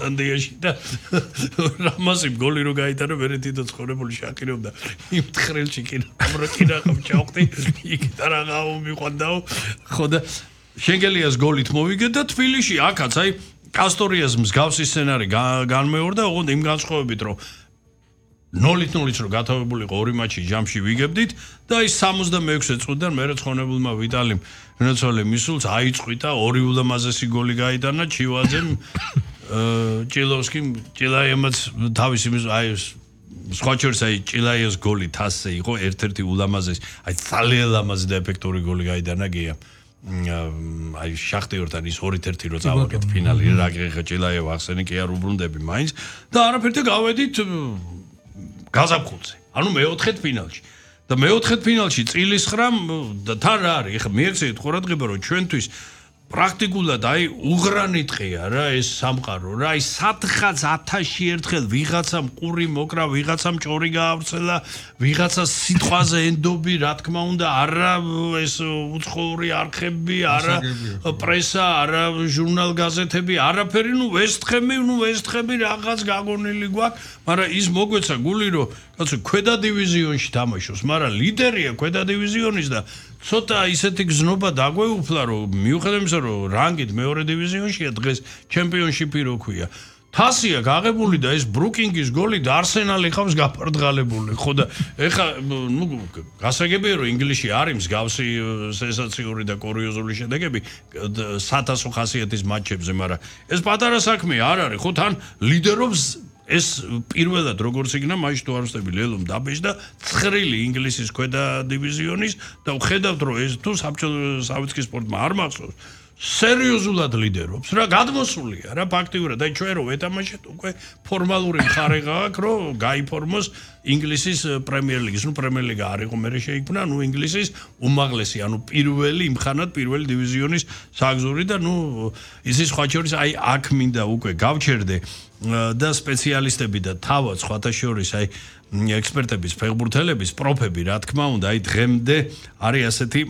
ისლანდიაში და რამაზი გოლი რო გაიტანა მე თვითონ ცხოვრებული შაკირობდა იმ ხრელში კინაღამ ჩავხდი იქ და რაღაცა მიყვანდაო ხო და შენგელიას გოლით მოვიგე და თბილისში აქაც აი კასტორიას მსგავსი სცენარი განმეორდა ოღონდ იმ განსხვავებით რომ 0-0 რო გათავებულიყო ორი მატჩი ჯამში ვიგებდით და აი 66 წუთიდან მე როცხონებულმა ვიტალიმ რენაცვალე მისულს აიწყვიტა ორი ულამაზესი გოლი გაიტანა ჩივაძემ ჭილოვსკიმ ჭილაიემაც თავისი აი სხვა შორის აი ჭილაიეს გოლი თასზე იყო ერთ-ერთი ულამაზესი აი ძალიან ლამაზი და ეფექტური გოლი გაიტანა გია აი შახტიორთან ის 2-1 რო წავაგეთ ფინალი რა გიხა ჭილაიევა ახსენი კი არ უბრუნდები მაინც და არაფერთან გავედით გაზაფხულზე ანუ მეოთხედ ფინალში და მეოთხედ ფინალში წილის ხრამ და თან რა არის ეხლა მიეცეთ ყურადღება რომ ჩვენთვის პრაქტიკულად აი უღრანი ტყია რა ეს სამყარო რა აი სათხაც 1000-ში ერთხელ ვიღაცამ ყური მოკრა ვიღაცამ ჭორი გაავრცელა ვიღაცა სიტყვაზე ენდობი რა თქმა უნდა არა ეს უცხოური არხები არა პრესა არა ჟურნალ გაზეთები არაფერი ნუ ვესთხები რაღაც გაგონილი გვაქვს მაგრამ ის მოგვეცა გული რომ კაცო ქვედა დივიზიონში თამაშობს მაგრამ ლიდერია ქვედა დივიზიონის და ცოტა ისეთი გზნობა დაგვეუფლა რომ მიუხედავად იმისა რომ რანგით მეორე დივიზიონშია დღეს ჩემპიონშიპი რო ქვია თასია გაღებული და ეს ბრუკინგის გოლი და არსენალი ხავს გაფარდღალებული ხო და ეხა ნუ გასაგებია რომ ინგლისში არის მსგავსი სენსაციური და კურიოზული შედეგები 1000 ხასიათის მატჩებზე მაგრამ ეს პატარა საქმე არ არის ხო თან ლიდერობს ეს პირველად როგორც იქნა მაშინ თუ არ ვსწრები ლელომ დაბეჭდა და ცხრილი ინგლისის ქვედა დივიზიონის და ვხედავთ რომ ეს თუ საბჭოთა სპორტმა არ მახსოვს სერიოზულად ლიდერობს რა გადმოსულია რა ფაქტიურად აი ჩვენ რო ვეთამაშეთ უკვე ფორმალური მხარე გააქვს რომ გაიფორმოს ინგლისის პრემიერ ლიგის ნუ პრემიერ ლიგა არ იყო მე შეიქმნა ნუ ინგლისის უმაღლესი ანუ პირველი იმხანად პირველი დივიზიონის საგზური და ნუ ისის სხვა შორის აი აქ მინდა უკვე გავჩერდე და სპეციალისტები და თავად სხვათა შორის აი ექსპერტების ფეხბურთელების პროფები რა თქმა უნდა აი დღემდე არის ასეთი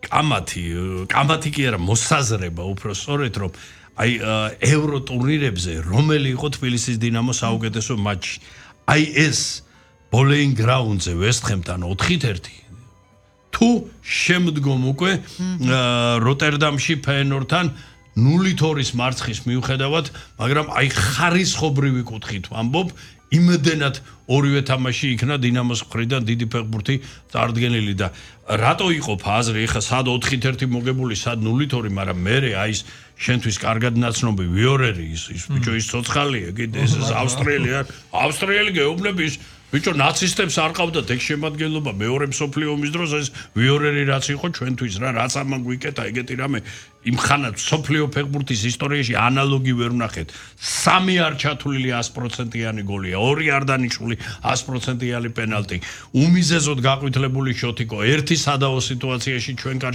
კამათი კი არა მოსაზრება უფრო სწორედ რომ აი ევრო ტურნირებზე რომელი იყო თბილისის დინამოს საუკეთესო მატჩი აი ეს ბოლეინ გრაუნდზე ვესტჰემთან 4-1 თუ შემდგომ უკვე როტერდამში ფეენორდთან 0-2 მარცხის მიუხედავად მაგრამ აი ხარისხობრივი კუთხით ვამბობ იმდენად ორივე თამაში იქნა დინამოს მხრიდან დიდი ფეხბურთი წარდგენილი და რატო იყო ფაზრი ეხა სად 4-1 მოგებული სად 0-2 მაგრამ მე აი ეს შენთვის კარგად ნაცნობი ვიორერი ის ბიჭო ის ცოცხალია კიდე ეს ავსტრიელი გეუბნების ბიჭო ნაცისტებს არ ყავდათ ეგ შემადგენლობა მეორე მსოფლიო ომის დროს ეს ვიორერი რაც იყო ჩვენთვის რა რაც ამან გვიკეთა ეგეთი რამე იმხანად მსოფლიო ფეხბურთის ისტორიაში ანალოგი ვერ ვნახეთ 3 არ ჩათვლილი 100%-იანი გოლია 2 არ დანიშნული 100%-იანი პენალტი უმიზეზოდ გაყვითლებული შოთიკო ერთი სადაო სიტუაციაში ჩვენ